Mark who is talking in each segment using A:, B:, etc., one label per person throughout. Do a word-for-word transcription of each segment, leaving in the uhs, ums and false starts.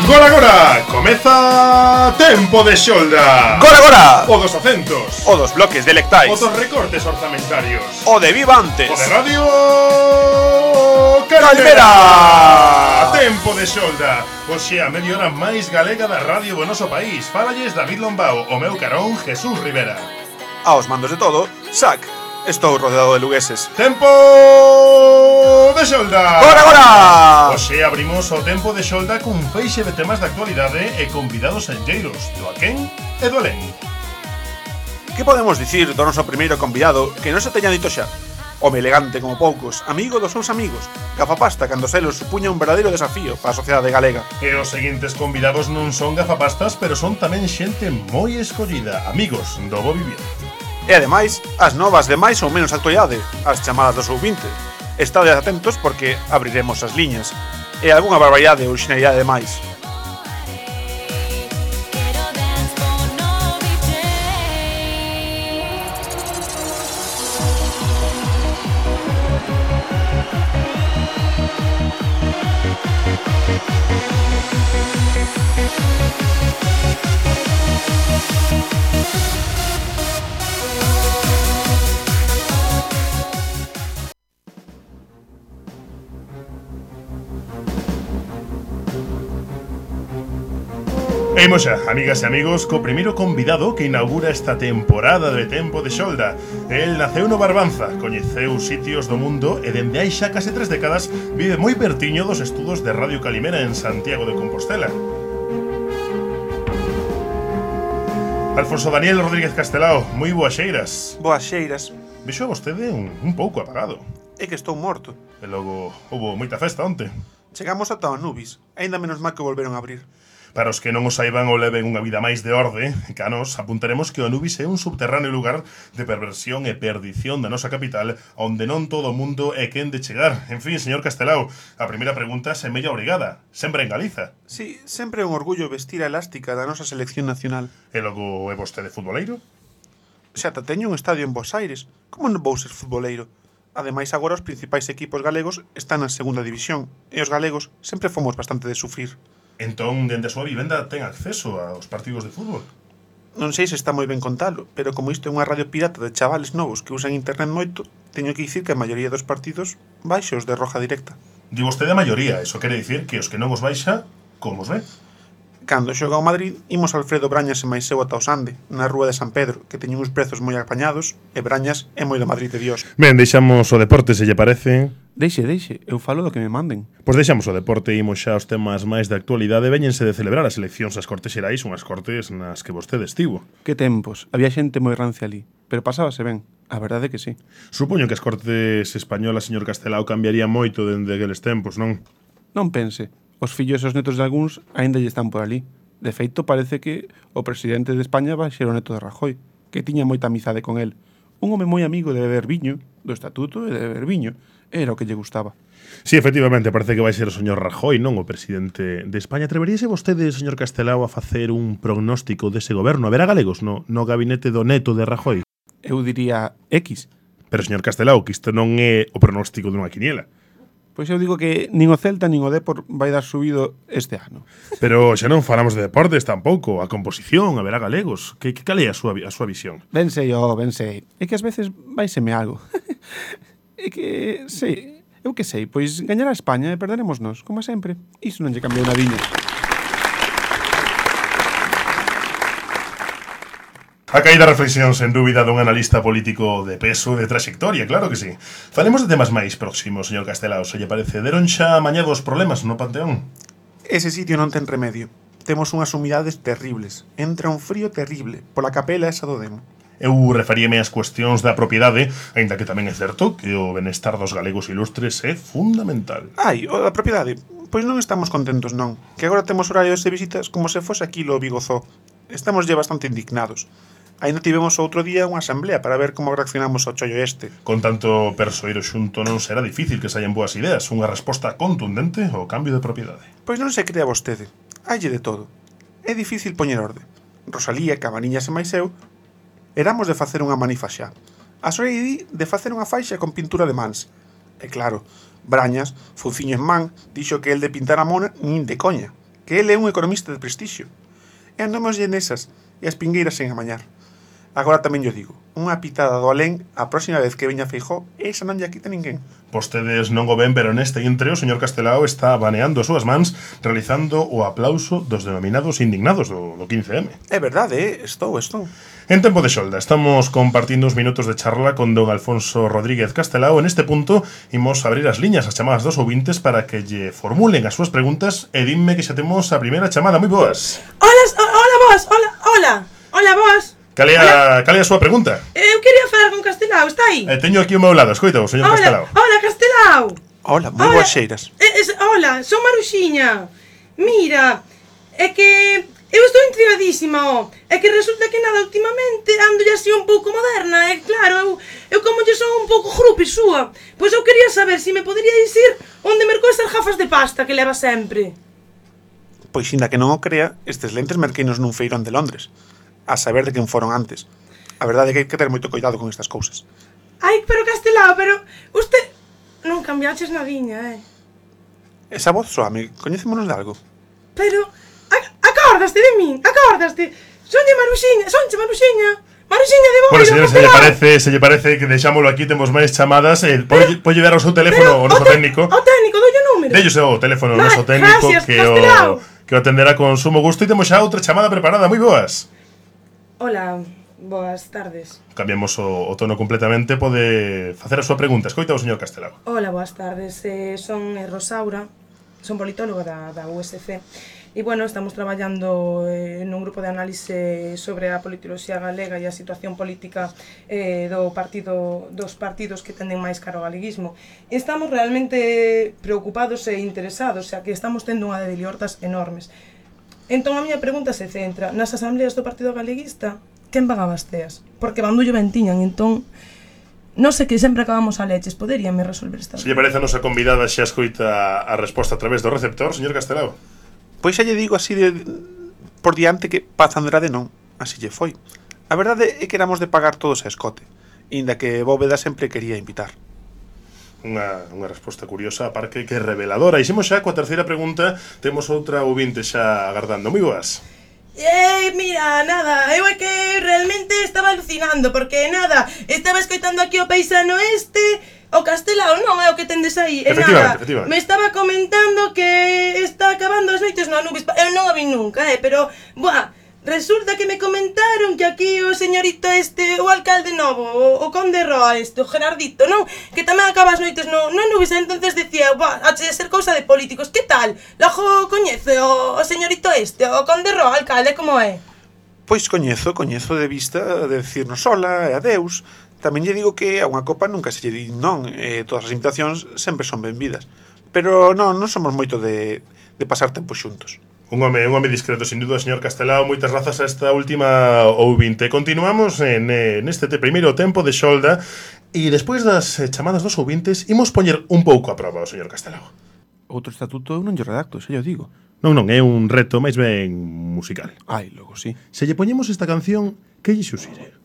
A: Gora gora, comeza Tempo de Xolda.
B: Gora gora,
A: o dos acentos,
B: o dos bloques delectais,
A: o dos recortes orzamentarios,
B: o de Vivantes,
A: o de Radio Calimera.
B: Calimera.
A: Tempo de Xolda, hoxe a media hora máis galega da radio do noso país. Fálalles David Lombao, o meu carón Jesús Rivera.
B: Aos mandos de todo, Sac. Estou rodeado de lugueses.
A: Tempo de Xolda.
B: Gora gora.
A: Hoxe abrimos o Tempo de Xolda cun feixe de temas de actualidade e convidados enlleiros do aquén e do alén.
B: Que podemos dicir do noso primeiro convidado que non se teña dito xa? Home elegante como poucos, amigo dos seus amigos, gafapasta cando selos supuña un verdadeiro desafío para a sociedade galega.
A: E os seguintes convidados non son gafapastas, pero son tamén xente moi escollida, amigos do bo vivir.
B: E ademais, as novas de máis ou menos actualidade, as chamadas do sub vinte. Estades atentos porque abriremos as liñas e algunha barbaridade ou xenialidade de máis.
A: E imos xa, amigas e amigos, co primeiro convidado que inaugura esta temporada de Tempo de Xolda. El naceu no Barbanza, coñeceu sitios do mundo e dende hai xa case tres décadas vive moi pertiño dos estudos de Radio Calimera en Santiago de Compostela. Alfonso Daniel Rodríguez Castelao, moi boas xeiras.
B: Boas xeiras.
A: Vexo a vostede un, un pouco apagado.
B: É que estou morto.
A: E logo houbo moita festa onte.
B: Chegamos ata o Anubis, aínda menos mal que volveron a abrir.
A: Para os que non o saiban ou leven unha vida máis de orde, canos, apuntaremos que o Anubis é un subterráneo lugar de perversión e perdición da nosa capital, onde non todo o mundo é quen de chegar. En fin, señor Castelao, a primeira pregunta é mella obrigada. Sempre en Galiza.
B: Sí, sempre é un orgullo vestir a elástica da nosa selección nacional.
A: E logo é vostede futboleiro?
B: Xa ta teño un estadio en Bos Aires. Como non vou ser futboleiro? Ademais, agora os principais equipos galegos están na segunda división, e os galegos sempre fomos bastante de sufrir.
A: Entón, dende a súa vivenda ten acceso aos partidos de fútbol?
B: Non sei se está moi ben contalo, pero como isto é unha radio pirata de chavales novos que usan internet moito, teño que dicir que a maioría dos partidos baixos de roja directa.
A: Di vostede a maioría, eso quere dicir que os que non os baixa, como os ve?
B: Cando xoga ao Madrid, imos Alfredo Brañas e máis eu ata o Sande, na rúa de San Pedro, que teñen uns prezos moi apañados, e Brañas é moi do Madrid de Dios.
A: Ben, deixamos o deporte, se lle parece.
C: Deixe, deixe, eu falo do que me manden.
A: Pois deixamos o deporte e imos xa aos temas máis de actualidade. Véñense de celebrar as eleccións ás Cortes Xerais, unhas cortes nas que vostede estivo.
C: Que tempos, había xente moi rancia ali, pero pasábase ben, a verdade é que sí.
A: Supoño que as Cortes españolas, señor Castelao, cambiaría moito dende aqueles tempos, non?
C: Non pense, os fillos e os netos de algúns aínda lle están por ali. De feito, parece que o presidente de España vai ser o neto de Rajoy, que tiña moita amizade con el. Un home moi amigo de beber viño, do estatuto e de beber viño. Era o que lle gustaba.
A: Sí, efectivamente, parece que vai ser o señor Rajoy, non o presidente de España. Atreveríase vostede, señor Castelao, a facer un prognóstico dese goberno? Haberá galegos no, no gabinete do neto de Rajoy?
C: Eu diría X.
A: Pero, señor Castelao, que isto non é o pronóstico dunha quiniela.
C: Pois eu digo que nin o Celta nin o Depor vai dar subido este ano.
A: Pero xa non falamos de deportes tampouco, a composición, haberá galegos. Que, que cal é a súa, a súa visión?
C: Ben sei, oh, ben sei. É que ás veces vaiseme algo. É que, sei, eu que sei, pois gañará España e perderemos nós, como sempre. Iso non lle cambiou nadiña.
A: A caída reflexión, sen dúbida, dun analista político de peso, de trayectoria, claro que sí. Falemos de temas máis próximos, señor Castelao, se lle parece. Deron xa amañados problemas no Panteón?
B: Ese sitio non ten remedio. Temos unhas humidades terribles. Entra un frío terrible pola capela esa do Demo.
A: Eu referíame ás cuestións da propiedade, aínda que tamén é certo que o benestar dos galegos ilustres é fundamental.
B: Ai, o da propiedade, pois non estamos contentos non, que agora temos horarios de visitas como se fose aquí lo Bigozó. Estamos lle bastante indignados. Ainda tivemos outro día unha asamblea para ver como reaccionamos ao chollo este.
A: Con tanto persoeiro xunto non será difícil que saian boas ideas, unha resposta contundente ao cambio de propiedade.
B: Pois non se crea vostede, halle de todo. É difícil poñer orde. Rosalía, Cabaniñas e máis eu éramos de facer unha manifa xa. A Soreidi de facer unha faixa con pintura de mans. E claro, Brañas, fuciño en man, dixo que el de pintar a mona nin de coña. que ele é un economista de prestixio. E andamoslle nesas, e as pingueiras sen amañar. Agora tamén yo digo, unha pitada do alén a próxima vez que veña Feijóo, esa non lle quita ninguén.
A: Vostedes non o ven, pero neste intre o señor Castelao está baneando as súas mans realizando o aplauso dos denominados indignados do, do quince eme.
B: É verdade, eh? estou, estou.
A: En tempo de xolda, estamos compartindo uns minutos de charla con don Alfonso Rodríguez Castelao. En este punto, imos abrir as liñas, as chamadas dos ouvintes para que lle formulen as súas preguntas e dinme que xa temos a primeira chamada. Moi boas.
D: Hola, hola vos, hola, hola, hola vos.
A: Cal é a, cal é a súa pregunta?
D: Eu quería falar con Castelao, está aí?
A: Eh, teño aquí ao meu lado, escoita, o señor
D: Hola,
A: Castelao.
D: hola, Castelao.
B: Hola, moi
D: Hola.
B: boas xeiras.
D: Eh, es, hola, son Maruxiña. Mira, é que eu estou intrigadísima, ó. É que resulta que nada, últimamente ando así un pouco moderna, e claro, eu, eu como lle son un pouco grupi súa. Pois eu quería saber se si me podería dicir onde mercou esas gafas de pasta que leva sempre.
B: Pois inda que non o crea, estes lentes merqueinos nun feirón de Londres. A saber de quen foron antes. A verdade é que hai que ter moito cuidado con estas cousas.
D: Ai, pero Castelao, pero usted non cambiaches nadiña, eh?
B: Esa voz soame, coñecémonos de algo?
D: Pero, ac- acordaste de min, acordaste. Sonlle Maruxiña, sonche Maruxiña. Maruxiña de Boiro,
A: Bueno, señor, se lle
D: Castelao.
A: parece, se lle parece que deixámolo aquí, temos máis chamadas. Eh, pode, pode dar o seu teléfono ao noso
D: te-
A: técnico.
D: O técnico, dolle o número.
A: Dellos o teléfono ao
D: Vale,
A: noso técnico
D: gracias,
A: que
D: Castelao.
A: o, que o atenderá con sumo gusto. E temos xa outra chamada preparada. Moi boas.
D: Hola, boas tardes.
A: Cambiamos o, o tono completamente. Pode facer a súa pregunta. Escoita o señor Castelao.
D: Hola, boas tardes. Eh, son eh, Rosaura, son politóloga da, da U S C. E, bueno, estamos traballando eh, nun grupo de análise sobre a politoloxía galega e a situación política eh, do partido, dos partidos que tenden máis caro ao galeguismo. E estamos realmente preocupados e interesados, xa que estamos tendo unha de liortas enormes. Entón, a miña pregunta se centra nas asambleas do Partido Galeguista, quen van a basteas? Porque bandullo ben tiñan, entón, non sei que sempre acabamos a leches, poderíame resolver esta.
A: Se lle parece a nosa convidada xa escoita a resposta a través do receptor, señor Castelao.
B: Pois xa lle digo así de por diante que Paz Andrade non, así lle foi. A verdade é que éramos de pagar todos a escote, inda que Bóveda sempre quería invitar.
A: Unha, unha resposta curiosa, a par que, que reveladora. E xemos xa coa terceira pregunta. Temos outra ouvinte xa agardando. Moi boas.
D: Eh, mira, nada, eu é que realmente estaba alucinando, porque nada, estaba escoitando aquí o paisano este, o Castelao non é o que tendes aí, e
A: Efectivamente,
D: nada,
A: efectivamente.
D: me estaba comentando que está acabando as noites no Anubis, eu non a vi nunca, eh, pero, buah, resulta que me comentaron que aquí o señorito este, o alcalde novo, o, o conde Roa este, o Gerardito, non? Que tamén acaba as noites no, no Anubis, entonces decía, buah, hache de ser cousa de políticos, que tal? Logo coñece o, o señorito este, o conde Roa, alcalde, como é?
B: Pois coñezo, coñezo de vista de decirnos hola e adeus. Tamén lle digo que a unha copa nunca se lle di non, e todas as invitacións sempre son benvidas. Pero non, non somos moito de, de pasar tempo xuntos.
A: Un home, un home discreto, sin duda, señor Castelao. Moitas grazas a esta última ouvinte. Continuamos en, en este te primeiro tempo de xolda. E despois das eh, chamadas dos ouvintes, imos poñer un pouco a prova ao señor Castelao.
C: Outro estatuto eu non lle redacto, xa yo digo.
A: Non, non, é un reto máis ben musical.
C: Ai, logo sí.
A: Se lle poñemos esta canción, que lle xuxire?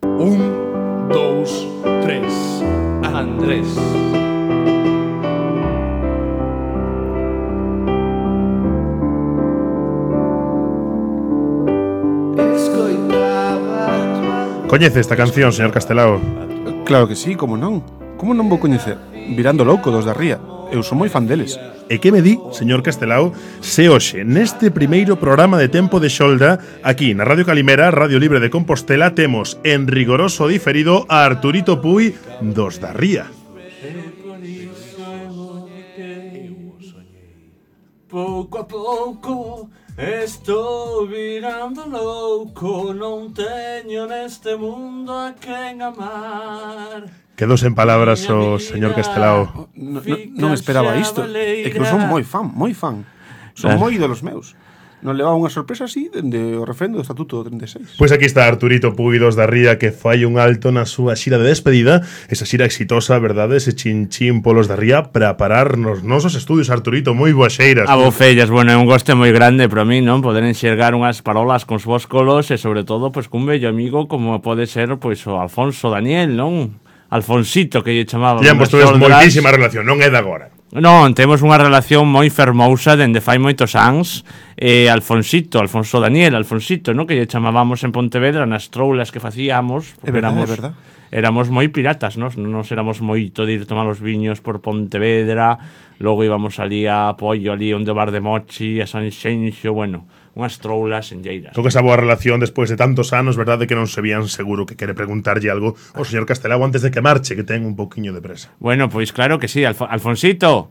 E: Un, dous, tres. Andrés.
A: Coñece esta canción, señor Castelao?
C: Claro que sí, como non? Como non vou coñecer? Virando louco dos da Ría. Eu son moi fan deles.
A: E que me di, señor Castelao, se hoxe, neste primeiro programa de Tempo de Xolda, aquí na Radio Calimera, Radio Libre de Compostela, temos en rigoroso diferido a Arturito Puy dos da Ría.
E: Pouco a pouco estou virando louco, non teño neste mundo a quen amar.
A: Quedou sen palabras o señor Castelao.
C: Non, non, non esperaba isto. É que eu son moi fan, moi fan. Son
E: Claro.
C: moi ídolos meus. Non levaba unha sorpresa así dende o referendo do Estatuto do trinta e seis.
A: Pois aquí está Arturito Puy dos da Ría, que fai un alto na súa xira de despedida. Esa xira exitosa, verdade? Ese chinchín polos da Ría para parar nos nosos estudios. Arturito, moi boas xeiras.
F: A vofellas, bueno, é un goste moi grande para mí, non? Poder enxergar unhas parolas con vos colos e sobre todo, pois, cun bello amigo como pode ser, pois, o Alfonso Daniel, non? Alfonsito, que lle chamaban.
A: Ya, pois tuves moitísima relación, non é de agora.
F: Non, temos unha relación moi fermousa dende fai moitos anos. eh, Alfonsito, Alfonso Daniel, Alfonsito, no? Que lle chamábamos en Pontevedra nas troulas que facíamos.
C: É verdade,
F: éramos,
C: é verdade.
F: Éramos moi piratas, nos, nos éramos moito de ir tomar os viños por Pontevedra. Logo íbamos ali a Apoio, ali onde o bar de Mochi, a San Xenxo, bueno, unhas troulas en lleiras.
A: Con esa boa relación despois de tantos anos, verdade que non se vían seguro que quere preguntarlle algo ao señor Castelao antes de que marche, que ten un pouquiño de presa.
F: Bueno, pois claro que sí, Alf Alfonsito.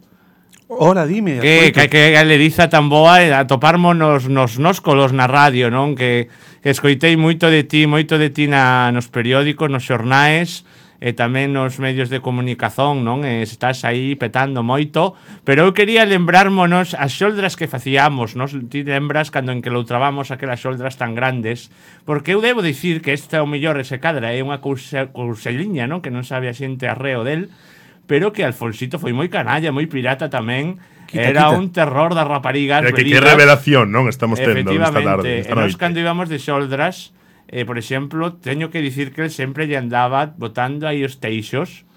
C: Hola, dime.
F: Que,
C: Alfonso.
F: que, que a lediza tan boa a toparmos nos, nos nóscolos na radio, non? Que, que escoitei moito de ti, moito de ti na, nos periódicos, nos xornais, e tamén nos medios de comunicación, non? E estás aí petando moito, pero eu quería lembrármonos as xoldras que facíamos, non? Ti lembras cando en que loutrábamos aquelas xoldras tan grandes, porque eu debo dicir que esta o mellor ese cadra é unha cousa, couseliña, non? Que non sabe a xente arreo del, pero que Alfonsito foi moi canalla, moi pirata tamén.
C: Quita,
F: Era
C: quita.
F: un terror das raparigas.
A: Que, que
F: velidas.
A: revelación, non? Estamos tendo esta
F: Efectivamente,
A: tarde, esta
F: e nós
A: noite.
F: cando íbamos de xoldras, eh, por exemplo, teño que dicir que el sempre lle andaba botando aí os teixos,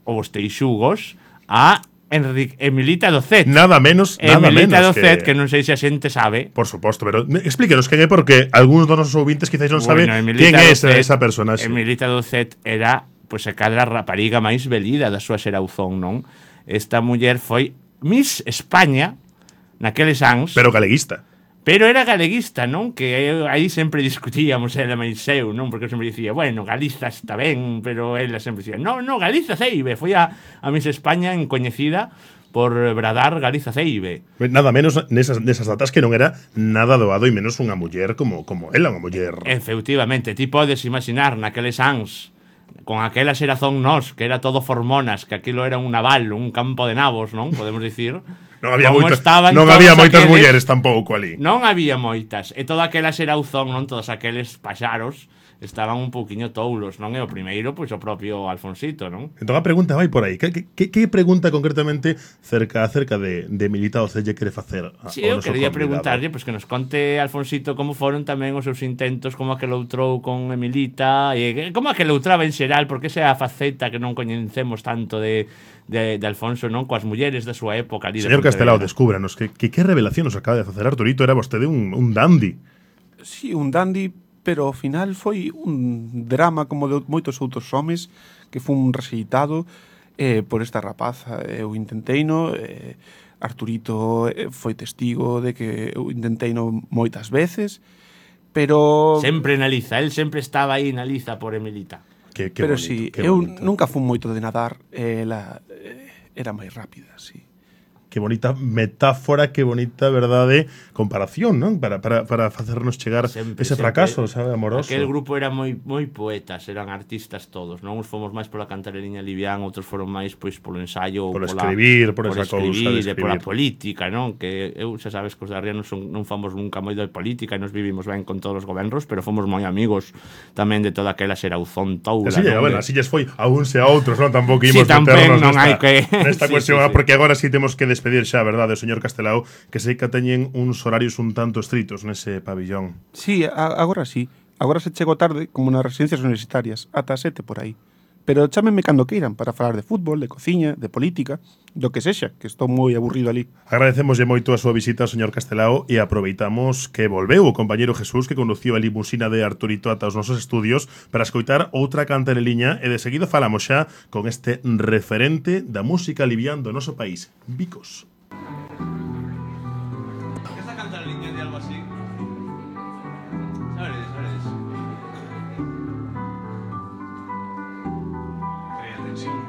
F: ou os teixugos, a Enrique, Emilita Docet.
A: Nada menos, nada
F: Emilita
A: menos
F: Docet,
A: que...
F: que non sei se a xente sabe.
A: Por suposto, pero me- explíquenos quen é, porque algúns dos nosos ouvintes quizás non saben quen é esa, esa personaxe.
F: Emilita Docet era, pois, a cadra rapariga máis velida da súa xerauzón, non? Esta muller foi Miss España naqueles anos.
A: Pero galeguista.
F: Pero era galeguista, non? Que aí sempre discutíamos ela máis eu, non? Porque eu sempre dicía, bueno, Galiza está ben, pero ela sempre dicía, no, no, Galiza Ceibe. Foi a, a Miss España encoñecida por bradar Galiza Ceibe.
A: Nada menos nesas, nesas datas que non era nada doado e menos unha muller como, como ela, unha muller.
F: Efectivamente, ti podes imaginar naqueles anos con aquela xerazón nos, que era todo hormonas, que aquilo era un naval, un campo de nabos, non? Podemos dicir.
A: Non había
F: como
A: moitas,
F: estaban
A: non
F: todos
A: había moitas
F: aqueles-
A: mulleres tampouco ali.
F: Non había moitas. E toda aquela xerauzón, non? Todos aqueles paxaros estaban un pouquiño toulos, non? E o primeiro, pois o propio Alfonsito, non?
A: Entón a pregunta vai por aí. Que, que, que pregunta concretamente cerca acerca de, de Emilita Docet lle quere facer a,
F: Si,
A: ao
F: eu
A: noso
F: quería
A: convidado?
F: preguntarlle, pois que nos conte Alfonsito como foron tamén os seus intentos, como aquel outrou con Emilita, e como aquel outraba en xeral, porque esa é a faceta que non coñecemos tanto de, de, de Alfonso, non? Coas mulleres da súa época ali de
A: Señor Castelao,
F: Pontevedra.
A: descúbranos que, que que revelación nos acaba de facer Arturito. Era vostede un, un dandy.
C: Sí, un dandy, pero ao final foi un drama como de moitos outros homes que fun rexeitado eh, por esta rapaza. Eu intenteino, eh, Arturito eh, foi testigo de que eu intenteino moitas veces, pero
F: Sempre na liza, el sempre estaba aí na liza por Emilita.
A: Que, que
C: pero
A: bonito,
C: si,
A: que
C: eu
A: bonito.
C: nunca fun moito de nadar, eh, ela eh, era máis rápida, sí.
A: Que bonita metáfora, que bonita, verdade, comparación, non? Para, para, para facernos chegar
F: Sempre,
A: ese
F: sempre.
A: fracaso, sabe, amoroso.
F: Aquel grupo era moi moi poetas, eran artistas todos, non? Uns fomos máis pola cantareliña livián, outros foron máis pois polo ensaio, ou
A: Polo
F: pola,
A: escribir, por esa cousa de
F: escribir, e pola
A: escribir.
F: política, non? Que eu xa sabes que os de Arriba non, son, non fomos nunca moi de política e nos vivimos ben con todos os gobernos, pero fomos moi amigos tamén de toda aquela xerauzón toula,
A: Así,
F: non?
A: bueno,
F: De-
A: así lles foi a uns e a outros, non? Tampouco
F: Sí,
A: imos
F: tamén
A: meternos
F: non
A: nesta,
F: hai que-
A: nesta
F: Sí,
A: cuestión,
F: sí,
A: ah,
F: sí.
A: porque agora sí temos que despedir xa, verdade, o señor Castelao, que sei que teñen uns horarios un tanto estritos nese pabillón.
C: Sí, a, agora sí. Agora se chego tarde como nas residencias universitarias, ata as sete por aí. Pero chámenme cando queiran para falar de fútbol, de cociña, de política, do que sexa, que estou moi aburrido ali.
A: Agradecemoslle moito a súa visita, señor Castelao, e aproveitamos que volveu o compañeiro Jesús, que conduciu a limusina de Arturito ata os nosos estudios para escoitar outra cantareliña, e de seguido falamos xa con este referente da música livián do noso país, Vicos.
E: Esta cantareliña de algo así. Sabes, sabes. Crea tensión.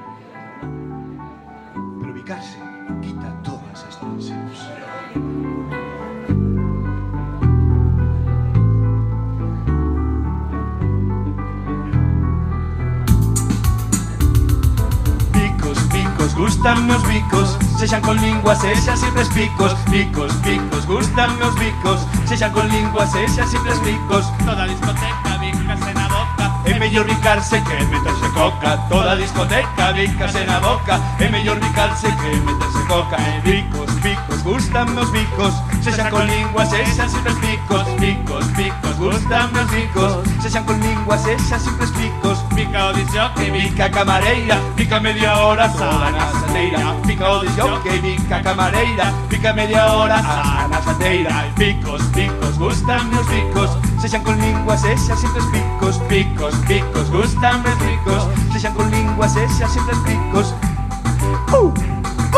E: Pero ubicarse quita todas as tensións. Picos, picos, gustan meus bicos, sexan con lingua, sexan simples picos. Picos, picos, gustan meus bicos, sexan con lingua, sexan simples picos. Toda discoteca, bicase na boca, é mellor bicarse que meterse coca. Toda discoteca, bicase na boca, é mellor bicarse que meterse coca. E bicos, picos, gustan meus bicos, sexan con lingua, sexan simples picos. Picos, picos, gustan meus bicos, sexan con lingua, sexan simples picos. Pica o disjockey, pica camareira, pica media hora xa na xateira. Pica o disjockey, pica camareira, pica media hora xa na xateira. Picos, picos, gustan meus picos, sexan con lingua, sexan sempre picos. Picos, picos, gustan meus picos, sexan con lingua, sexan sempre picos. Uh,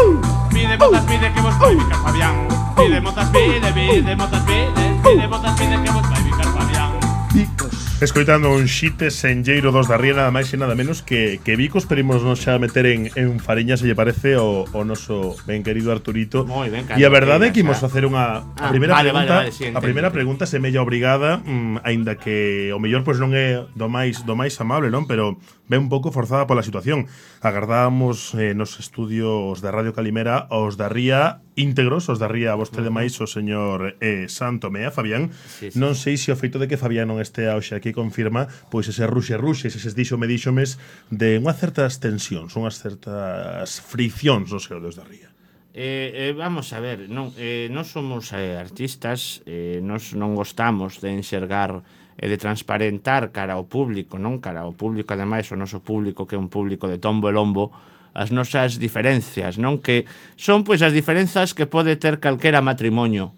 E: uh. Pide botas, pide que vos vai picar Fabián. Pide botas, pide, pide botas, pide, pide botas, pide que vos vai picar Fabián. Picos.
A: Escoitando un xite senlleiro dos da Ría, nada máis e nada menos que, que Vicos, pero imos nos xa meter en, en fariña, se lle parece, o, o noso ben querido Arturito.
F: Moi ben,
A: E a verdade é que
F: xa.
A: imos facer unha a
F: Ah,
A: primeira
F: vale,
A: pregunta,
F: vale, vale, sí,
A: a
F: entendo.
A: primeira pregunta semella obrigada, mm, aínda que o mellor pois non é do máis do máis amable, non, pero ven un pouco forzada pola situación. Agardábamos eh, nos estudios de Radio Calimera os da Ría íntegros, os da Ría a vostede máis o señor eh, Santo Mea, Fabián.
F: Sí, sí.
A: Non sei se o feito de que Fabián non estea hoxe aquí confirma pois ese ruxe ruxe, eses díxome díxomes de unhas certas tensións, unhas certas friccións no seu dos da Ría.
F: Eh, eh, vamos a ver, non, eh, non somos eh, artistas, eh, nos non gostamos de enxergar e de transparentar cara ao público, non cara ao público, ademais o noso público que é un público de tombo e lombo, as nosas diferencias, non, que son pois as diferenzas que pode ter calquera matrimonio,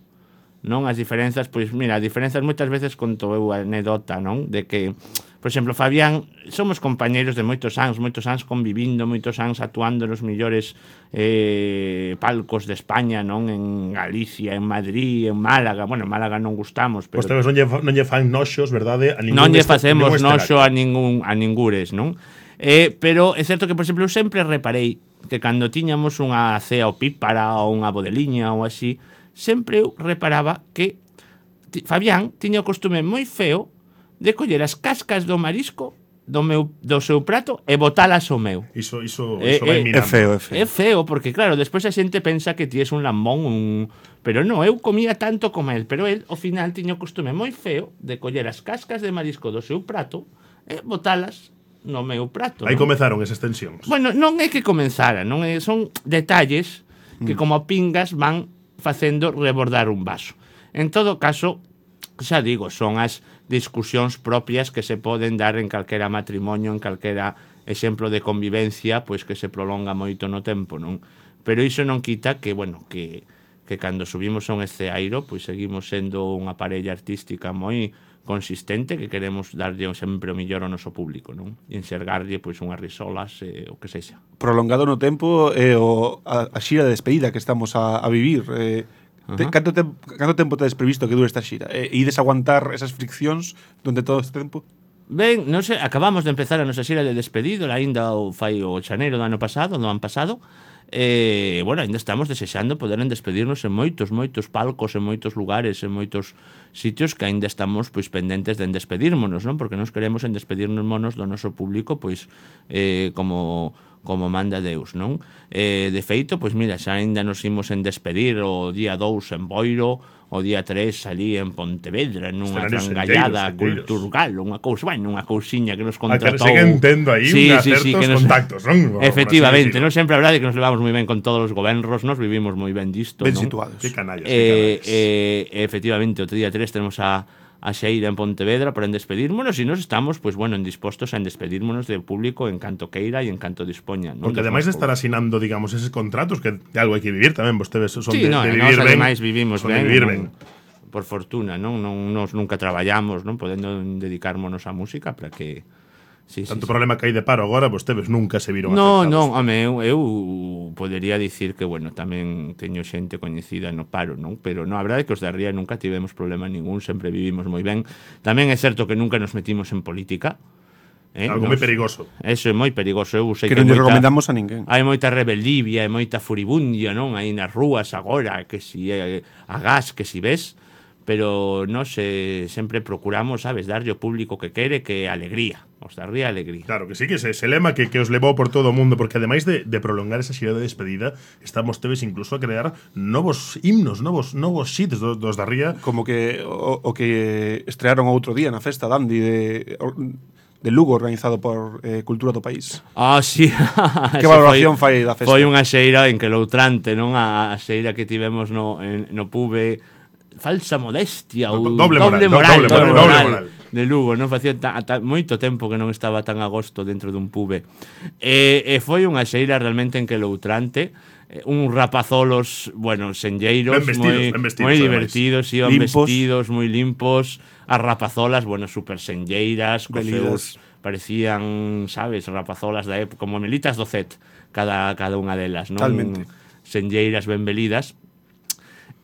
F: non, as diferenzas, pois mira, as diferenzas moitas veces conto eu a anedota, non, de que por exemplo, Fabián, somos compañeiros de moitos anos, moitos anos convivindo, moitos anos actuando nos millores eh, palcos de España, non? En Galicia, en Madrid, en Málaga. Bueno, en Málaga non gustamos, pero...
A: Pois non lle, non lle fan noxos, verdade? A ningún
F: non lle
A: este-
F: facemos
A: ningún
F: noxo
A: escenario.
F: a ningún a ningures, non? Eh, pero é certo que, por exemplo, eu sempre reparei que cando tiñamos unha cea opípara ou unha bodeliña ou así, sempre eu reparaba que ti- Fabián tiña o costume moi feo de coller as cascas do marisco do meu do seu prato e botalas ao meu.
A: Iso, iso,
F: Eh,
A: iso vai
F: eh,
A: minando.
B: É feo, é feo.
F: É feo, porque claro, despois a xente pensa que ti és un lambón, un... pero non, eu comía tanto como el, pero el, ao final, tiña o costume moi feo de coller as cascas de marisco do seu prato e botalas no meu prato.
A: Aí
F: non?
A: comezaron esas tensións.
F: Bueno, non é que comenzara, non é, son detalles que como pingas van facendo rebordar un vaso. En todo caso, xa digo, son as discusións propias que se poden dar en calquera matrimonio, en calquera exemplo de convivencia, pois que se prolonga moito no tempo, non? Pero iso non quita que, bueno, que, que cando subimos a un esceairo, pois seguimos sendo unha parella artística moi consistente, que queremos darlle sempre o millor ao noso público, non? E enxergarlle pois unhas risolas, eh, o que sexa.
C: Prolongado no tempo é o, a, a xira de despedida que estamos a, a vivir. Eh, te,
F: Ajá.
C: canto, te, canto tempo tedes previsto que dure esta xira? Eh, e ides aguantar esas friccións durante todo este tempo?
F: Ben, non sei, acabamos de empezar a nosa xira de despedido, aínda o fai o xaneiro do ano pasado, do ano pasado, e, bueno, aínda estamos desexando poder en despedirnos en moitos, moitos palcos, en moitos lugares, en moitos sitios que aínda estamos, pois, pendentes de en despedirmonos, non? Porque nos queremos en despedirnos monos do noso público, pois, eh, como como manda Deus, non? Eh, de feito, pois mira, xa aínda nos imos en despedir o día dous en Boiro, o día tres ali en Pontevedra, nunha
A: Escenarios
F: trangallada
A: senteiros, senteiros.
F: cultural, unha cousa, bueno, unha cousiña que nos
A: Ah, que
F: contratou.
A: seguen tendo aí unha certos
F: que nos-
A: contactos, non?
F: Efectivamente,
A: Por así
F: non sempre a verdade que nos levamos moi ben con todos os gobernos, nos vivimos moi ben disto,
C: Ben
F: non?
C: situados.
A: Que canallas,
F: Eh,
A: que canallas.
F: eh, efectivamente, o día tres tenemos a a xeira en Pontevedra para en despedirmonos e nos estamos, pois bueno, en dispostos a en despedirmonos del público en canto queira e en canto dispoña, non?
A: Porque
F: Dos
A: ademais de
F: nosos
A: estar asinando, digamos, eses contratos, que de algo hai que vivir tamén, vostedes son
F: Sí,
A: de,
F: no,
A: de
F: nós
A: vivir ben.
F: ademais vivimos
A: son
F: ben,
A: de vivir
F: non,
A: ben.
F: por fortuna, non, non nos nunca traballamos, non, podendo dedicarmonos á música para que sí,
A: Tanto
F: sí,
A: problema que hai de paro agora, vostedes nunca se viron
F: No,
A: afectados.
F: non, home, eu, eu podería dicir que, bueno, tamén teño xente coñecida no paro, non? Pero no, a verdade é que os da Ría nunca tivemos problema ningún, sempre vivimos moi ben. Tamén é certo que nunca nos metimos en política. Eh?
A: Algo moi perigoso.
F: Eso é moi perigoso, eu sei
C: Que
F: que,
C: non lle
F: moita-
C: recomendamos a ninguén.
F: hai moita rebeldivia e moita furibundia, non? Aí nas rúas agora, que si é a gas, que si ves, pero nós eh, sempre procuramos, sabes, darlle ao público que quere, que é alegría, os da Ría alegría.
A: Claro que sí, que ese, ese lema que, que os levou por todo o mundo, porque ademais de, de prolongar esa xira de despedida, estamos teves incluso a crear novos himnos, novos novos hits dos, dos da Ría.
C: Como que o, o que estrearon outro día na festa Dandy de, de Lugo, organizado por eh, Cultura do País.
F: Ah, sí.
C: Que valoración fai da festa?
F: Foi unha xeira en que loutrante, non? A, a xeira que tivemos no, en, no Pube, falsa modestia ou
A: Do- doble moral, do-
F: moral,
A: doble moral, doble moral.
F: de Lugo, non facía ta, ta, moito tempo que non estaba tan a gosto dentro dun pube. E, e foi unha xeira realmente enqueloutrante, uns rapazolos, bueno, senlleiros,
A: Ben vestidos,
F: moi,
A: ben vestidos,
F: moi
A: ademais.
F: divertidos, iban
C: Limpos.
F: vestidos, moi limpos, as rapazolas, bueno, super senlleiras, cos
C: Velidas.
F: seus parecían, sabes, rapazolas da época, como melitas do Z, cada, cada unha delas, non?
C: Totalmente.
F: Senlleiras ben velidas.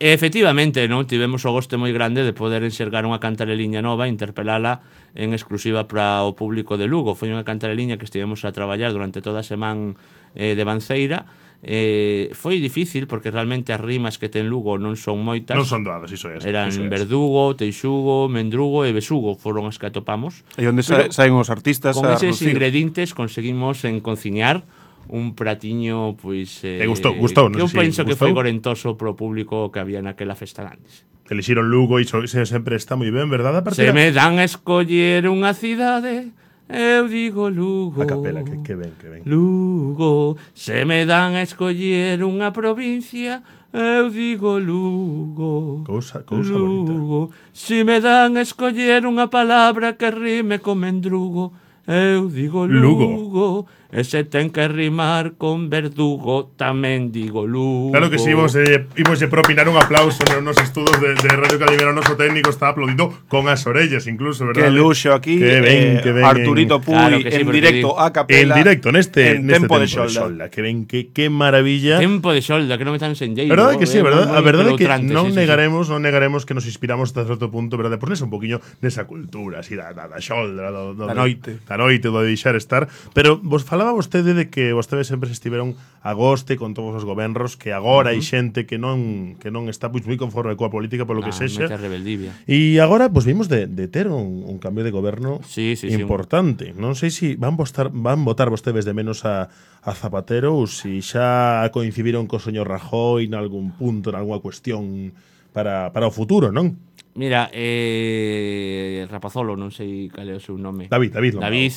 F: E, efectivamente, non tivemos o goste moi grande de poder enxergar unha cantareliña nova e interpelala en exclusiva para o público de Lugo. Foi unha cantareliña que estivemos a traballar durante toda a semana eh, de Banceira. Eh, foi difícil porque realmente as rimas que ten Lugo non son moitas.
A: Non son doadas, iso é.
F: Eran
A: iso é.
F: Verdugo, Teixugo, Mendrugo e Besugo foron as que atopamos.
C: E onde sa saen os artistas
F: Con
C: a
F: eses
C: reducir.
F: ingredientes conseguimos en cociñar un pratiño pois eh,
A: E gustou, gustou, non
F: que eu
A: sei
F: penso
A: se
F: que
A: gustou.
F: foi gorentoso pro público que había naquela festa grandes.
A: Elixiron Lugo e iso sempre está moi ben, verdad? A
F: Se
A: partir
F: me dan a escoller unha cidade, eu digo Lugo.
A: a capela, que, que ben, que ben.
F: Lugo. Se me dan a escoller unha provincia, eu digo Lugo.
A: Cousa, cousa bonita.
F: Lugo. Se me dan a escoller unha palabra que rime con mendrugo, eu digo
A: Lugo.
F: Lugo. E se ten que rimar con verdugo, tamén digo Lugo.
A: Claro que si, imos, eh, imos eh, propinar un aplauso nos nos estudos de, de Radio Calimera. O noso técnico está aplaudindo con as orellas, incluso, verdad?
B: Que luxo aquí,
A: Que ben,
B: eh,
A: que ben,
B: Arturito Puy
F: Claro que sí,
B: en
F: porque
B: directo
F: digo-
B: a capela.
A: En directo, neste,
B: en
A: neste
B: tempo de
A: xolda.
B: xolda.
A: Que ven, que, que maravilla.
F: Tempo de xolda, que non me tan senlleiro.
A: Verdade que sí,
F: é
A: verdad,
F: moi-
A: a
F: moi
A: verdade é que
F: peloutrante,
A: non
F: sí, sí, sí.
A: negaremos, non negaremos que nos inspiramos hasta certo punto, verdade, por nesa un poquiño nesa cultura, así da, da, da xolda, do, do,
B: Da noite.
A: da noite, do de deixar estar, pero vos falaba vostede de que vostedes sempre se estiveron a goste con todos os gobernos, que agora hai xente que non que non está pois moi conforme coa política polo que
F: Ah,
A: sexa.
F: mete a rebeldivia.
A: E agora pois vimos de, de ter un, un cambio de goberno
F: Sí, sí, sí,
A: importante. Non sei se si van votar van votar vostedes de menos a, a Zapatero ou se si xa coincidiron co señor Rajoy en algún punto, en algunha cuestión para, para o futuro, non?
F: Mira, eh, Rapazolo, non sei cal é o seu nome.
A: David, David Lombao.
F: David.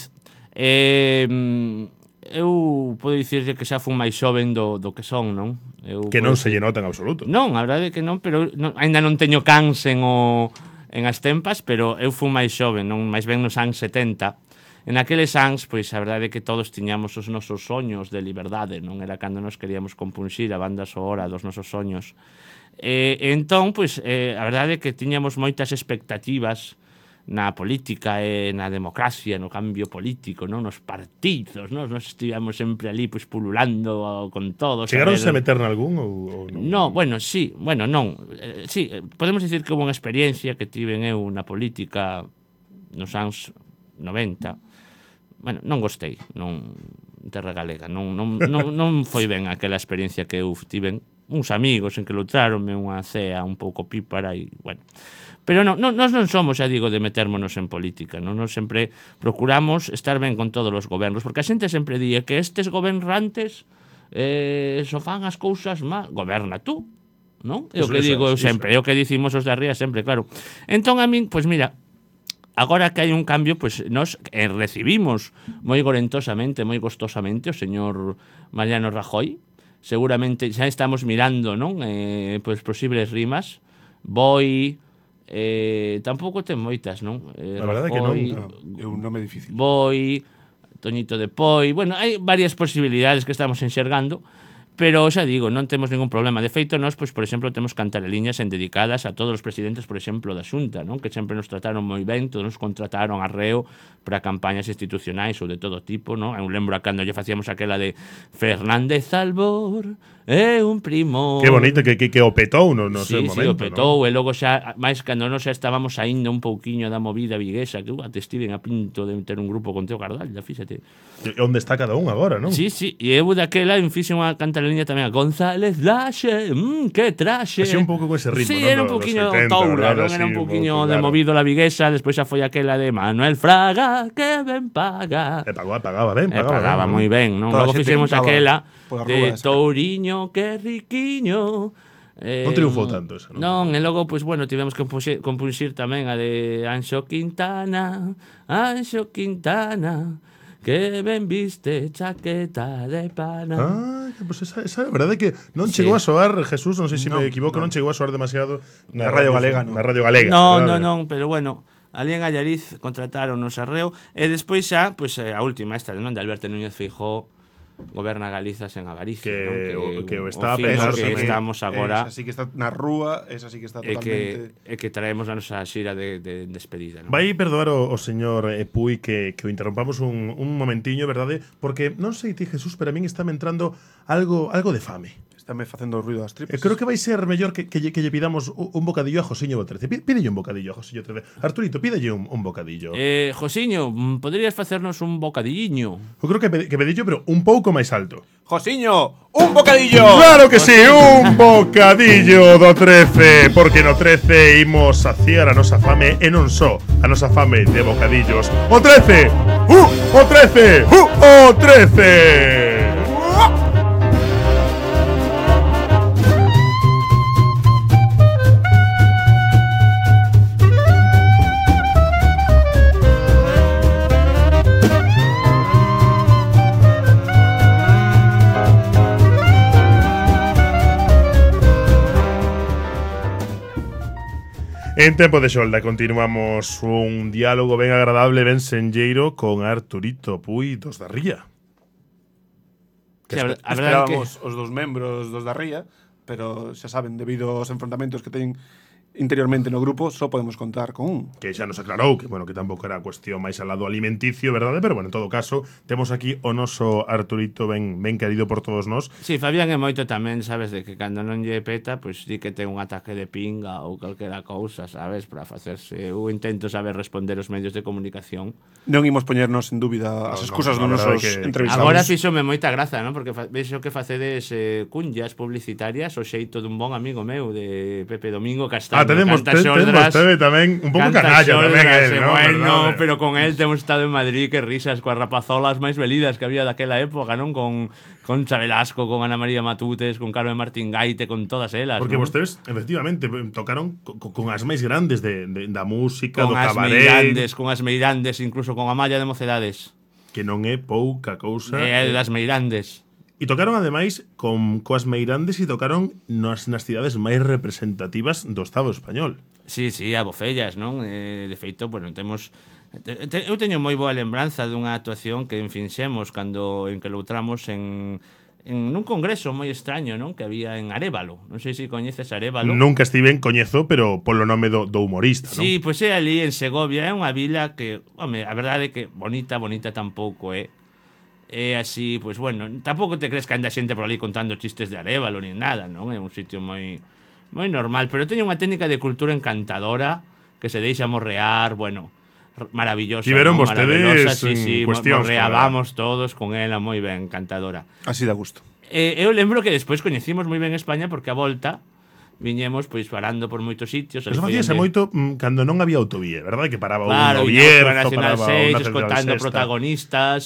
F: Eh, mm, eu podo dicirlle que xa fun máis xoven do, do que son, non? Eu
A: Que non
F: podo
A: se lle nota en absoluto.
F: Non, a verdade é que non, pero non, ainda non teño cans en o en as tempas, pero eu fui máis xoven, non máis ben nos anos setenta. En aqueles anos, pois a verdade é que todos tiñamos os nosos soños de liberdade, non era cando nos queríamos compunxir a banda sonora dos nosos soños. E, e entón, pois, eh, a verdade é que tiñamos moitas expectativas na política e na democracia, no cambio político, non, nos partidos, non, nos estivemos sempre ali pois pululando con todos.
A: Chegaronse a
F: ver-
A: meter nalgún ou, ou non?
F: No, bueno, sí, bueno, non. Eh, sí, eh, podemos dicir que houve unha experiencia que tiven eu na política nos anos noventa. Bueno, non gostei, non terra galega, non, non, non, non foi ben aquela experiencia que eu tiven. Uns amigos en que lotraronme unha cea un pouco pípara e, bueno. Pero non, non, nós non somos, xa digo, de metérmonos en política, non? Nós sempre procuramos estar ben con todos os gobernos, porque a xente sempre di que estes gobernantes eh, so fan as cousas mal. Goberna tú, non? É o
A: Iso,
F: que
A: iso,
F: digo eu
A: iso.
F: sempre, é o que dicimos os de arriba sempre, claro. Entón a min, pois mira, agora que hai un cambio, pois nos eh, recibimos moi gorentosamente, moi gostosamente o señor Mariano Rajoy. Seguramente xa estamos mirando, non? Eh, pois posibles rimas. Boi, eh, tampouco ten moitas, non? Eh,
A: A verdade é que non.
F: Rajoy,
C: No, é un nome difícil.
F: Boi, Toñito de Poi. Bueno, hai varias posibilidades que estamos enxergando, pero xa digo, non temos ningún problema. De feito, nós, pois, por exemplo, temos cantareliñas en dedicadas a todos os presidentes, por exemplo, da Xunta, non? Que sempre nos trataron moi ben, todos nos contrataron a reo para campañas institucionais ou de todo tipo, non? Eu lembro a cando lle facíamos aquela de Fernández Albor é un primo.
A: Que bonito, que, que, que o petou no, no
F: Sí,
A: seu
F: sí,
A: momento,
F: o petou, e logo xa, máis cando non xa estábamos saindo un pouquiño da movida viguesa, que uh, até estiven a pinto de ter un grupo con Teo Cardalla, fíxate.
A: non? E onde está cada un agora, non?
F: Sí, sí, e eu daquela en fixe unha cantareliña tamén a González Laxe, mmm, que traxe.
A: Así un pouco con ese ritmo,
F: Sí,
A: non?
F: era un
A: Dos
F: pouquiño
A: oitenta,
F: toula,
A: verdad?
F: non era
A: Así,
F: un
A: un
F: pouquiño
A: pouco,
F: de
A: claro.
F: movido la viguesa, despois xa foi aquela de Manuel Fraga, que ben paga.
A: E pagaba, pagaba ben,
F: E
A: pagaba,
F: pagaba
A: ben,
F: moi ben, non?
C: Toda a
F: Logo
C: xente
F: fixemos
C: cantaba
F: aquela
C: polas
F: de
C: rúas.
F: Touriño, que riquiño. Eh,
A: Non triunfou tanto esa, non?
F: Non, e logo, pois, bueno, tivemos que compuxir, compuxir tamén a de Anxo Quintana, Anxo Quintana, que ben viste chaqueta de pana.
A: Ah, que, pues esa, esa a verdade é que non
F: Sí.
A: chegou a soar, Jesús, non sei se
B: Non,
A: me equivoco, non.
B: non.
A: chegou a soar demasiado
B: Na Radio Galega, non.
A: Na Radio Galega.
F: No, no,
A: verdade?
F: non, pero bueno, ali en Allariz contrataron nos arreo, e despois xa, pois a última esta, non, de Alberto Núñez Feijóo, goberna Galiza sen avaricia,
A: Que
F: non?
A: o- que o está a
F: fijo
A: pensar
F: que
A: tamén.
F: estamos agora
C: Esa sí que está na rúa, esa sí que está
F: e que,
C: totalmente...
F: e que traemos a nosa xira de, de despedida, non?
A: Vai perdoar o, o señor eh, Puy que, que o interrompamos un, un momentiño, verdade? Porque non sei ti, Jesús, pero a min está me entrando algo, algo de fame.
C: Estáme facendo ruido as
A: Eh,
C: tripas.
A: creo que vai ser mellor que, que, lle, que lle pidamos un, un bocadillo a Josiño Botrece. Pí- Pídelle un bocadillo a Josiño Botrece. Arturito, pídelle un, un bocadillo.
F: Eh, Josiño, mm, poderías facernos un bocadilliño?
A: Eu creo que, pe- que pedillo, pero un pouco máis alto.
C: Josiño, un bocadillo.
A: Claro que sí, un bocadillo do trece, porque no trece imos saciar a nosa fame e non só a nosa fame de bocadillos. O trece! Uh, o trece! Uh, o trece! En Tempo de Xolda continuamos un diálogo ben agradable, ben senlleiro con Arturito Puy dos da Ría.
F: Sí, a ver- a verdade que
C: Esperábamos os dos membros dos da Ría, pero xa saben, debido aos enfrontamentos que teñen interiormente no grupo, só podemos contar con un.
A: Que xa nos aclarou que, bueno, que tampouco era cuestión máis al lado alimenticio, verdade? Pero, bueno, en todo caso, temos aquí o noso Arturito ben, ben querido por todos nós.
F: Sí, Fabián é moito tamén, sabes, de que cando non lle peta, pois di que ten un ataque de pinga ou calquera cousa, sabes, para facerse. Eu intento saber responder os medios de comunicación.
C: Non imos poñernos en dúbida as
A: no,
C: excusas
A: no,
C: dos
A: la verdade
C: nosos
A: que-
C: entrevistados.
F: Agora fíxome moita graza, non? Porque fa- vexo que facedes eh, cunllas publicitarias o xeito dun bon amigo meu de Pepe Domingo Castaño.
A: Ah, tenemos,
F: canta
A: te, tenemos
F: xoldras,
A: tebe tamén un pouco
F: canta
A: canalla tamén
F: xoldras,
A: él,
F: e
A: ¿no?
F: bueno,
A: Verdade.
F: pero con él temos estado en Madrid, que risas coas rapazolas máis velidas que había daquela época, non? Con con Velasco, con Ana María Matutes, con Carmen Martín Gaite, con todas elas,
A: Porque
F: non?
A: vostedes, efectivamente, tocaron co, co, con as máis grandes de, de, da música,
F: Con
A: do
F: as
A: cabaret,
F: Meirandes, con as Meirandes, incluso con a Malla de Mocedades.
A: que non é pouca cousa.
F: E das Meirandes.
A: E tocaron ademais con coas Meirandes e tocaron nas, nas cidades máis representativas do Estado español.
F: Sí, sí, a Bofellas, non? Eh, de feito, bueno, temos te, te, eu teño moi boa lembranza dunha actuación que enfinxemos cando en que loutramos en en nun congreso moi extraño, non? Que había en Arévalo. Non sei se coñeces Arévalo.
A: Nunca estiven, coñezo, pero polo nome do, do humorista,
F: Sí, pois é ali en Segovia, é unha vila que, home, a verdade é que bonita, bonita tampouco é. É así, pois bueno, tampouco te crees que anda xente por ali contando chistes de Arévalo ni nada, non? É un sitio moi moi normal, pero teño unha técnica de cultura encantadora que se deixa morrear, bueno, r- maravillosa.
A: Tiveron
F: ¿no?
A: vostedes
F: Maravillosa, sí,
A: en
F: sí, mo-
A: cuestións,
F: morreábamos todos con ela moi ben, encantadora.
C: Así da gusto.
F: Eh, eu lembro que despois coñecimos moi ben España porque a volta viñemos pois parando por moitos sitios.
A: Pero
F: ali foi
A: facíase
F: onde-
A: moito mm, cando non había autovía, verdade? Que paraba
F: Claro,
A: un no
F: viñamos por a
A: Bierzo,
F: Nacional
A: paraba
F: seis,
A: un Nacional
F: escoltando
A: Sexta.
F: protagonistas.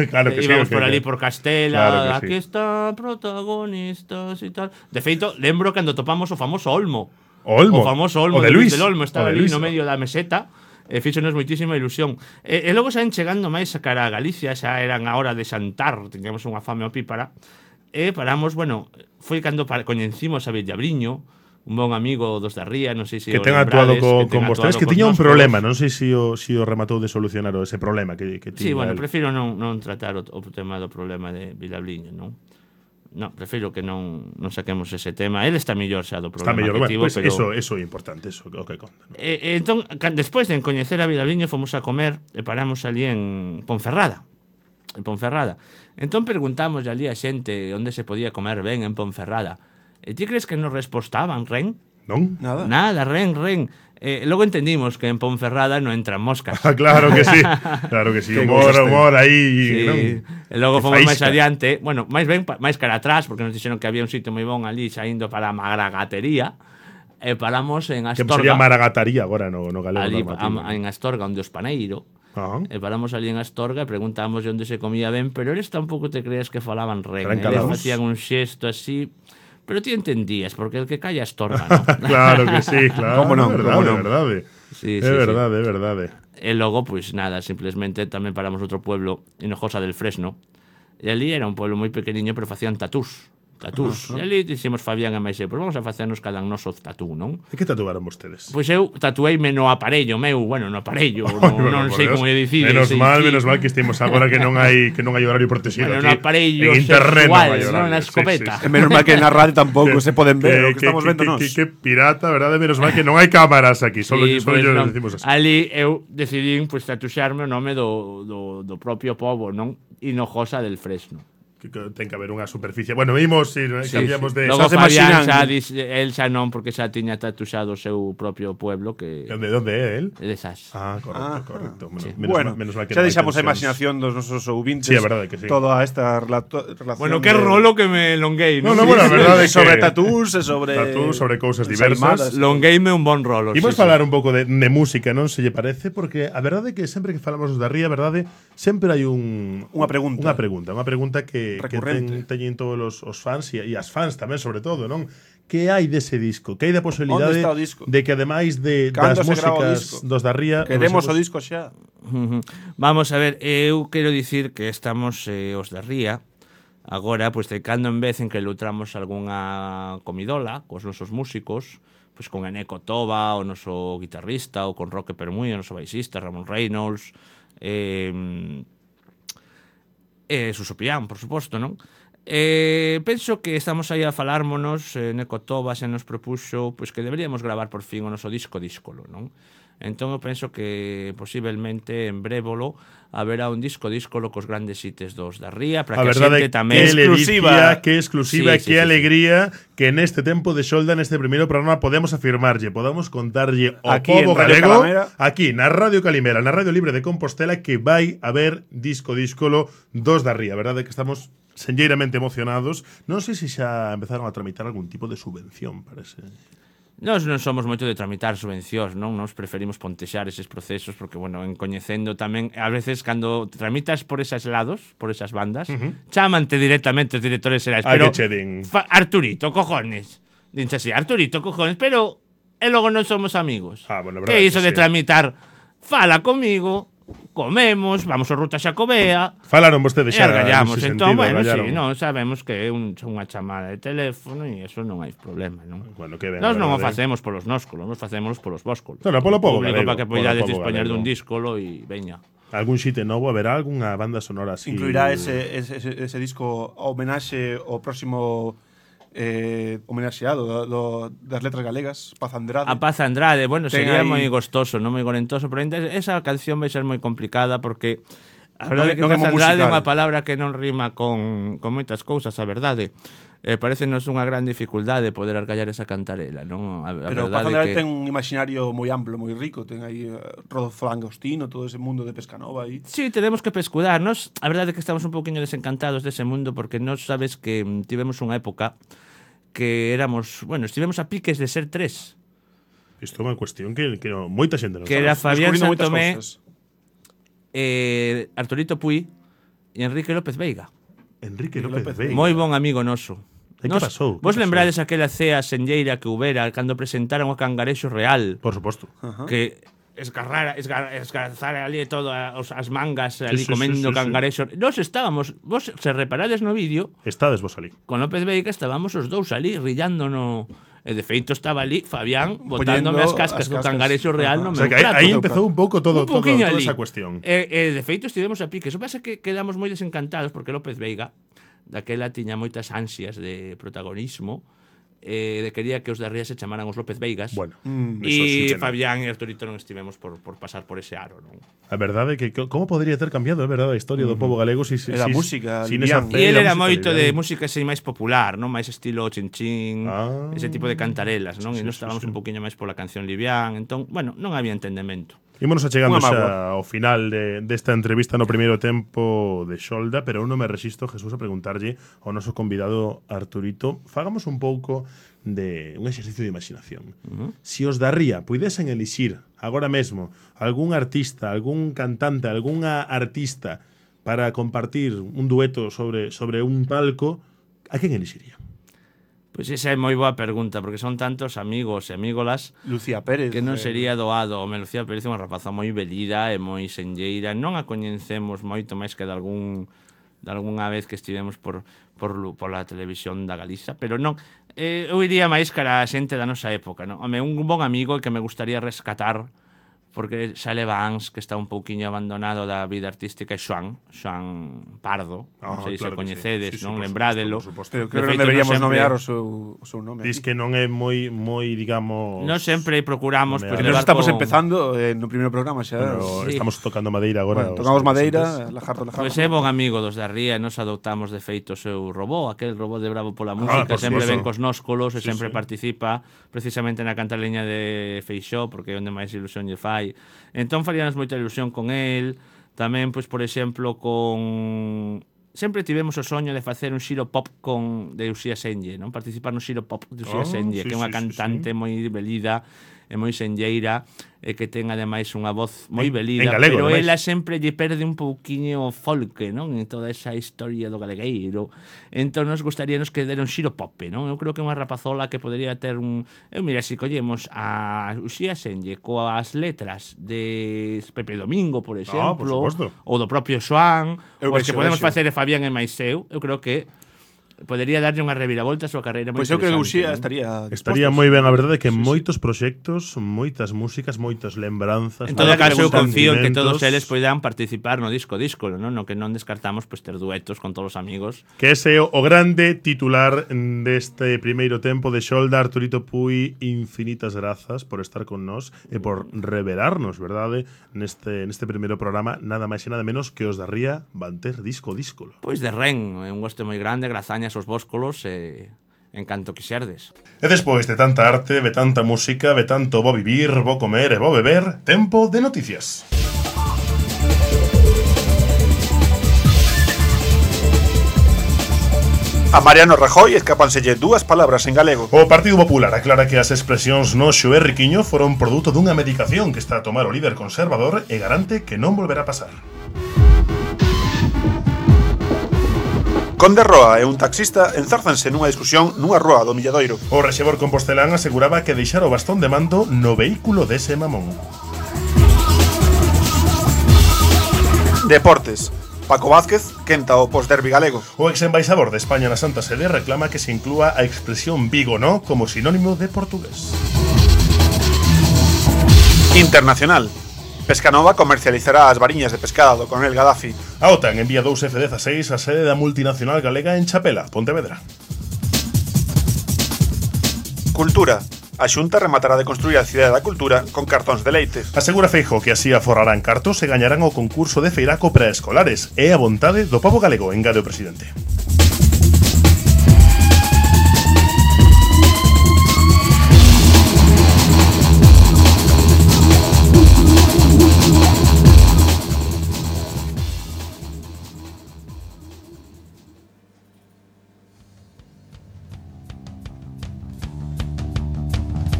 A: Claro que
F: eh,
A: sí,
F: íbamos
A: que-
F: por ali
A: que-
F: por Castela,
A: Claro que sí.
F: aquí están protagonistas e tal. De feito, lembro cando topamos o famoso Olmo.
A: O Olmo.
F: O famoso Olmo
A: O de
F: de Luis
A: Luis.
F: del Olmo,
A: O
F: estaba
A: de
F: ali
A: Luis.
F: no medio da meseta. E fíxonos moitísima ilusión. E, e logo saen chegando máis a cara a Galicia, xa eran a hora de xantar, tiñamos unha fame opípara. E paramos, bueno, foi cando para, coñecimos a Villabriño, un bon amigo dos da Ría, non sei se
A: Que
F: o
A: ten actuado
F: lembrades,
A: co,
F: que ten
A: con vostedes,
F: actuado
A: que
F: cos
A: tiña un
F: noscos.
A: problema, non sei se o, se o rematou de solucionar o ese problema que, que
F: Sí,
A: tiña
F: bueno,
A: el.
F: prefiro non, non tratar o, o tema do problema de Vilabliño, non? No, prefiro que non, non saquemos ese tema. Ele está mellor xa do
A: Está
F: problema
A: mellor,
F: que
A: bueno,
F: tivo,
A: pues
F: pero...
A: eso, eso é importante, eso o que conta. ¿no?
F: E, e entón, can- despois de coñecer a Vilabliño, fomos a comer e paramos ali en Ponferrada. En Ponferrada. Entón preguntamos ali a xente onde se podía comer ben en Ponferrada. E ti crees que nos respostaban, Ren?
A: ¿Non?
C: Nada.
F: Nada, Ren, Ren. Eh, logo entendimos que en Ponferrada non entran moscas.
A: Ah, claro que sí. Claro que sí.
C: Que
A: Humor,
C: gustaste.
A: humor aí,
F: Sí.
A: non?
F: E logo
A: Que
F: fomos máis
A: faísca.
F: adiante, bueno, máis ben pa- máis cara atrás, porque nos dixeron que había un sitio moi bon ali saindo para a Magragatería, e paramos en
A: Que
F: Astorga,
A: sería maragataría agora no, no galego
F: ali
A: normativo.
F: a, en Astorga onde os Paneiro,
A: Ah,
F: e paramos ali en Astorga e preguntamos onde se comía ben, pero eles tampouco te crees que falaban ren,
A: Eran
F: eles
A: calaos.
F: facían un xesto así, pero ti entendías, porque el que calla Astorga, ¿no?
A: claro que sí, claro.
C: Cómo non,
A: é verdade,
C: cómo
A: é
C: non.
A: verdade.
F: Sí,
A: É
F: sí, sí.
A: verdade, é verdade.
F: E logo, pois nada, simplemente tamén paramos outro pueblo, Hinojosa del Fresno. E ali era un pueblo moi pequeniño, pero facían tatús. tatús. E ali dixemos Fabián e máis eu, pois vamos a facernos cada un noso tatú, non?
A: E que tatuaron vostedes?
F: Pois eu tatueime no aparello meu, bueno, no aparello, non, non sei como é dicir.
A: Menos
F: sei,
A: mal,
F: sí.
A: menos mal que estemos agora que non hai que non hai horario protegido
F: Bueno,
A: aquí.
F: no aparello
A: en internet
F: sexual,
A: non hai horario.
F: non na
A: Sí,
F: escopeta.
A: sí, sí.
C: E menos mal que na radio tampouco se poden ver o que,
A: que,
C: estamos
A: que,
C: vendo
A: que,
C: nós.
A: que, que pirata, verdade? Menos mal que non hai cámaras aquí, solo,
F: Sí,
A: solo
F: pois
A: yo
F: non.
A: decimos así.
F: Ali eu decidín pois tatuxarme o nome do, do, do propio pobo, non? Hinojosa del Fresno.
A: Que, que ten que haber unha superficie. Bueno, vimos si sí, cambiamos de
F: Logo
C: Xa se
F: Fabián
C: imaxinan-
F: xa dis, el xa non porque xa tiña tatuxado o seu propio pueblo que
A: ¿De dónde é él?
F: é de Sas.
A: Ah, correcto,
C: Ah,
A: correcto. Bueno,
F: sí.
A: menos,
C: Bueno,
A: mal, menos mal que
C: xa
A: non hai
C: deixamos a
A: tensións.
C: imaginación dos nosos ouvintes.
A: Sí, é verdade que sí.
C: Toda esta relato, relación
F: Bueno, que
C: de-
F: rolo que me longuei,
A: No,
F: non?
A: no, bueno, a verdade é que
C: sobre tatús e sobre
A: tatús, sobre cousas
C: ensaimadas.
A: diversas.
F: Longueime un bon rolo.
A: Imos
F: sí,
A: falar un pouco de, de música, non se lle parece? Porque a verdade é que sempre que falamos da ría, a verdade, sempre hai un
C: Unha pregunta.
A: Unha pregunta, unha pregunta que, que ten,
C: Recurrente.
A: teñen todos os, os fans e, e as fans tamén, sobre todo, non? Que hai dese disco? Que hai da posibilidade
C: Onde está o disco?
A: de que ademais de
C: Cando
A: das
C: se grava o
A: músicas
C: disco?
A: dos da ría
C: Queremos o
A: usemos-
C: disco xa.
F: Ujú. Vamos a ver, eu quero dicir que estamos eh, os da ría agora, pois de cando en vez en que lutramos algunha comidola cos nosos músicos, pois con Eneco Toba, o noso guitarrista, ou con Roque Permuy, o noso baixista, Ramón Reynolds, eh, e Suso Pián, por suposto, non? Eh, penso que estamos aí a falármonos, eh, Neco Toba se nos propuxo pois que deberíamos gravar por fin o noso disco díscolo, non? Entón eu penso que posiblemente en brévolo haberá un disco díscolo cos grandes hites dos da ría para
A: A
F: que a
A: verdade
F: xente
A: que
F: tamén
A: exclusiva, que exclusiva,
F: Sí, sí,
A: que
F: sí, sí.
A: alegría que neste tempo de xolda neste primeiro programa podemos afirmarlle, podamos contarlle ao
C: Aquí
A: pobo
C: en Radio
A: galego,
C: Calimera.
A: aquí na Radio Calimera, na Radio Libre de Compostela, que vai haber disco díscolo dos da ría. A verdade é que estamos senlleiramente emocionados. Non sei se xa empezaron a tramitar algún tipo de subvención para ese...
F: Nós non somos moito de tramitar subvencións, non? Nos preferimos pontexar eses procesos porque, bueno, en coñecendo tamén, a veces cando tramitas por esas lados, por esas bandas, uh -huh. chámante directamente os directores xerais,
A: Ai,
F: pero
A: que che din.
F: fa- Arturito, cojones. Dinse así, Arturito, cojones, pero e logo non somos amigos.
A: Ah, bueno, a
F: que
A: verdade
F: iso
A: que
F: de
A: sí.
F: tramitar? Fala comigo, comemos, vamos ao Ruta Xacobea,
A: Falaron vostedes
F: e
A: xa
F: argallamos.
A: nese
F: Entón,
A: sentido,
F: bueno,
A: argallaron.
F: sí, non, sabemos que é un, unha chamada de teléfono e eso non hai problema, non?
A: Bueno, que ben,
F: Nós non o
A: verdade.
F: facemos polos nóscolos, nos facemos polos vóscolos.
A: No, no, polo pobo
F: público
A: galego,
F: para que
A: polo
F: poidades
A: pobo
F: dispoñer
A: galego.
F: dun díscolo e veña.
A: Algún xite novo, haberá algunha banda sonora así?
C: Incluirá ese, ese, ese, ese disco homenaxe ao próximo eh, homenaxeado do, do, das letras galegas, Paz Andrade.
F: A Paz Andrade, bueno,
C: Ten
F: sería
C: aí-
F: moi gostoso, non moi gorentoso, pero ainda esa canción vai ser moi complicada porque a
C: Non
F: verdade
C: é-
F: é que
C: non é
F: Paz
C: moi
F: Andrade é
C: musical.
F: unha palabra que non rima con, con moitas cousas, a verdade. Eh, parecenos unha gran dificultade poder argallar esa cantarela, non? A, a
C: Pero
F: verdade
C: Paz
F: é
C: Andrade
F: que
C: ten un imaginario moi amplo, moi rico. Ten aí uh, Rodolfo Langostino, todo ese mundo de Pescanova aí.
F: Sí, tenemos que pescudarnos. A verdade é que estamos un poquinho desencantados dese mundo porque nós sabes que mm, tivemos unha época que éramos, bueno, estivemos a piques de ser tres.
A: Isto é unha cuestión que, que no, moita xente non
F: Que
A: sabe.
F: era Fabián
C: Descubrindo moitas
F: Santomé,
C: cousas.
F: eh, Arturito Puy e Enrique López Veiga.
A: Enrique
C: López
A: López Veiga.
F: Moi bon amigo noso.
A: E que
F: Nos-
A: pasou? Que
F: Vos
A: pasou?
F: lembrades aquela cea senlleira que houbera cando presentaron o Cangarexo Real?
A: Por suposto.
F: Que esgarrara, esgar, esgarzar ali todo a- os- as mangas ali
A: sí,
F: comendo
A: sí, sí, sí.
F: cangarexo. Nos estábamos, vos se reparades no vídeo,
A: Estades vos ali.
F: con López Veiga estábamos os dous ali rillando no e de feito estaba ali Fabián botándome
C: Poñendo
F: as cascas
C: as
F: do
C: cascas.
F: Cangarexo Real no
A: O sea,
F: meu
A: que aí,
F: prato.
A: aí empezou un pouco todo,
F: Un
A: todo,
F: poquinho
A: toda
F: ali.
A: esa cuestión.
F: E, e de feito estivemos a pique. Eso pasa que quedamos moi desencantados porque López Veiga daquela tiña moitas ansias de protagonismo eh, de quería que os de Ría se chamaran os López Veigas.
A: Bueno, eso sí que
F: e
A: non.
F: Fabián e Arturito non estivemos por, por pasar por ese aro, non?
A: A verdade é que co- como podría ter cambiado, é verdade, a historia do pobo galego si, si,
C: E da
A: si,
C: música,
A: sin esa
C: Livián.
A: fe
F: E ele
A: da
F: era
A: música
F: moito de
A: liviana.
F: música así máis popular, non? Máis estilo chinchín,
A: Ah.
F: ese tipo de cantarelas, non?
A: Sí,
F: e nós
A: sí,
F: estábamos
A: sí.
F: un poquinho máis pola canción livián, entón, bueno, non había entendemento.
A: Ímonos achegando
C: Unha
A: xa ao final de, desta entrevista no primeiro tempo de Xolda, pero eu non me resisto, Jesús, a preguntarlle ao noso convidado Arturito, fagamos un pouco de un exercicio de imaginación. Uh -huh. Si os da Ría puidesen elixir agora mesmo algún artista, algún cantante, algunha artista para compartir un dueto sobre, sobre un palco, a quen elixiría?
F: Pois esa é moi boa pregunta, porque son tantos amigos e amígolas
C: Lucía Pérez.
F: que non
C: eh,
F: sería doado. Home, Lucía Pérez é unha rapaza moi velida e moi senlleira. Non a coñecemos moito máis que de algún de algunha vez que estivemos por, por, pola televisión da Galiza, pero non, eh, eu iría máis cara a xente da nosa época, non? Home, un bon amigo que me gustaría rescatar, porque Xale Vans, que está un pouquiño abandonado da vida artística, é Xoan, Xoan Pardo, non sei se coñecedes,
A: sí. Sí, sí,
F: non?
A: por
F: Lembrádelo.
A: suposto,
C: Pero creo que
F: feito,
C: deberíamos
F: non sempre-
C: nomear o seu, o seu nome.
A: Dis que non é moi, moi digamos...
F: Non sempre procuramos
A: Nomear.
F: pues,
C: Que nos
F: levar
C: estamos
F: con-
C: empezando eh, no primeiro programa xa.
A: Bueno,
F: Sí.
A: estamos tocando madeira agora.
C: Bueno,
A: os
C: tocamos
A: presentes.
C: madeira, lajardo, lajardo.
F: Pois é bon amigo dos da Ría, e nos adoptamos de feito o seu robot, aquel robot de Bravo pola música,
A: por
F: sempre
A: suposto.
F: ven cos nóscolos e
A: Sí,
F: sempre
A: sí.
F: participa precisamente na cantaleña de Feixó, porque é onde máis ilusión lle fai. Entón faríanos moita ilusión con el, tamén, pois, por exemplo, con... Sempre tivemos o soño de facer un xiro pop con de Uxía Senlle, non? Participar no xiro pop de Uxía
A: Oh,
F: Senlle,
A: sí,
F: que é unha
A: sí, sí,
F: cantante
A: sí.
F: moi belida e moi senlleira, e que ten ademais unha voz moi
A: En-
F: belida,
A: en galego,
F: pero
A: ademais.
F: ela sempre lle perde un pouquiño o folque, non? En toda esa historia do galegueiro. Entón nos gustaríanos que dera un xiro pop, non? Eu creo que é unha rapazola que podría ter un... Eu mira, se collemos a Uxía Senlle coas letras de Pepe Domingo, por exemplo,
A: por suposto.
F: ou do propio Xoan,
C: Eu
F: pois que
C: vexo,
F: podemos
C: vexo.
F: facer de Fabián e máis eu, eu creo que podería darlle unha reviravolta á súa carreira moi
C: Pois eu creo que
F: interesante,
C: Uxía
F: non?
C: estaría
A: Estaría
C: dispostos.
A: moi ben, a verdade, que moitos proxectos, moitas músicas, moitas lembranzas.
F: En todo
C: Habrá que
F: caso, eu
C: preguntar
F: confío en que
A: sentimentos.
F: todos eles poidan participar no disco disco, non? No que non descartamos pois ter duetos con todos os amigos.
A: Que ese é o grande titular deste primeiro tempo de Xolda. Arturito Puy, infinitas grazas por estar con nós e por revelarnos, verdade, neste neste primeiro programa, nada máis e nada menos que os da Ría van ter disco díscolo.
F: Pois de Ren, é un goste moi grande, grazañas aos vóscolos e en canto quixerdes.
A: E despois de tanta arte, de tanta música, de tanto bo vivir, bo comer e bo beber, tempo de noticias.
B: A Mariano Rajoy escápanselle dúas palabras en galego.
A: O Partido Popular aclara que as expresións noxo e riquiño foron produto dunha medicación que está a tomar o líder conservador e garante que non volverá a pasar.
B: Conde Roa e un taxista enzárzanse nunha discusión nunha rúa do Milladoiro.
A: O rexedor compostelán aseguraba que deixara o bastón de mando no vehículo dese mamón.
B: Deportes. Paco Vázquez quenta o posderbi galego.
A: O exembaixador de España na Santa Sede reclama que se inclúa a expresión Vigo no como sinónimo de portugués.
B: Internacional. Pescanova comercializará as variñas de pescada do coronel Gaddafi.
A: A OTAN envía dous F dezasseis á sede da multinacional galega en Chapela, Pontevedra.
B: Cultura. A Xunta rematará de construir a Cidade da Cultura con cartóns de leite.
A: Asegura Feijóo que así aforrarán cartos e gañarán o concurso de feiraco preescolares. É a vontade do pobo galego, engade o presidente.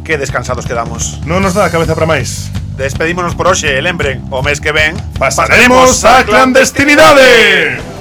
B: Que descansados quedamos.
A: Non nos dá a cabeza para máis.
B: Despedímonos por hoxe e lembren, o mes que ven
A: Pasaremos a clandestinidade!